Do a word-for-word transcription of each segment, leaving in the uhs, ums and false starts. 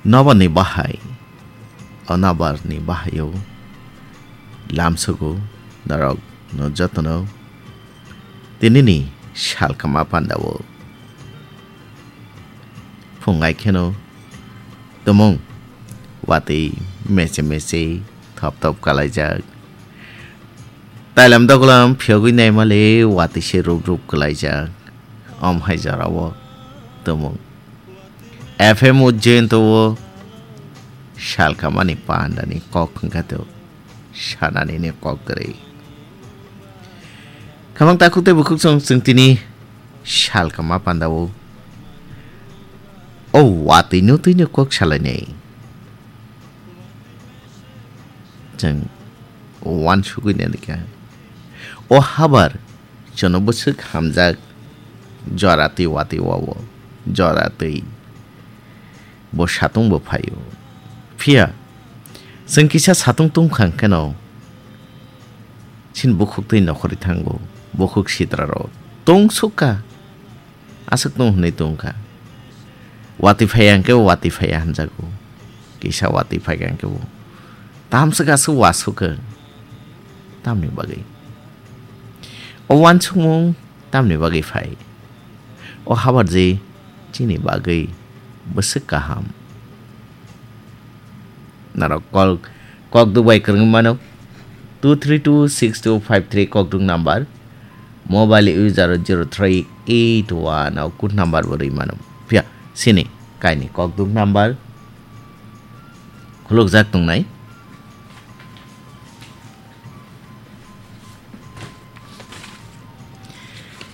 Nobarni bahai, o nobarni bahaio lamsogo norok no jotono tinini salkama pandao. Phungai kheno tumung watwi meche meche thop thop kalaijak. Tailam dogolam phiyogwi naimale watwi se rup rup kalaijak. Om hai jorao tumung. F M Ujjain to o salkamani pandani kok hwnkha to sanani ni kok kwrwi. Khamang takhuk tei bukhuk song chwng tini salkama pandao. O watwi no twi no kok salainai. Chwng uansugwi nalikha. O habar chwngno bwswk hamjak, jora twi watwi wao, jora twi bo satung bo phaio. Phiya chwng kisa satung tungkha hwnkhe no chini bukhuk twi nokhorwi thango, bukhuk sitra rok tungsukha. Aswk tong hwnwi tongkha. Watwi phaiya hwnkhe bo watwi phaiya hwnjago. Kisa watwi phaikha hwnkhe bo. Tamswk aswk wasukha. Tamni bagwi. O uansukmung tamni bagwi phai. O habar je chini bagwi bwswk kaham. Norok kol kokduk bai kwrwngwi mano two three two six two five three kokduk number. Mobile user zero three eight one o code number bo rwi mano. Phiya sini kaini kokduk number khulukjak tongnai.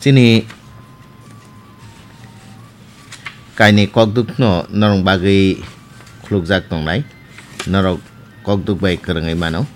Chini kaini kokduk no norok bagwi khulukjak tongnai. Norok kokduk bai kwrwngwi mano.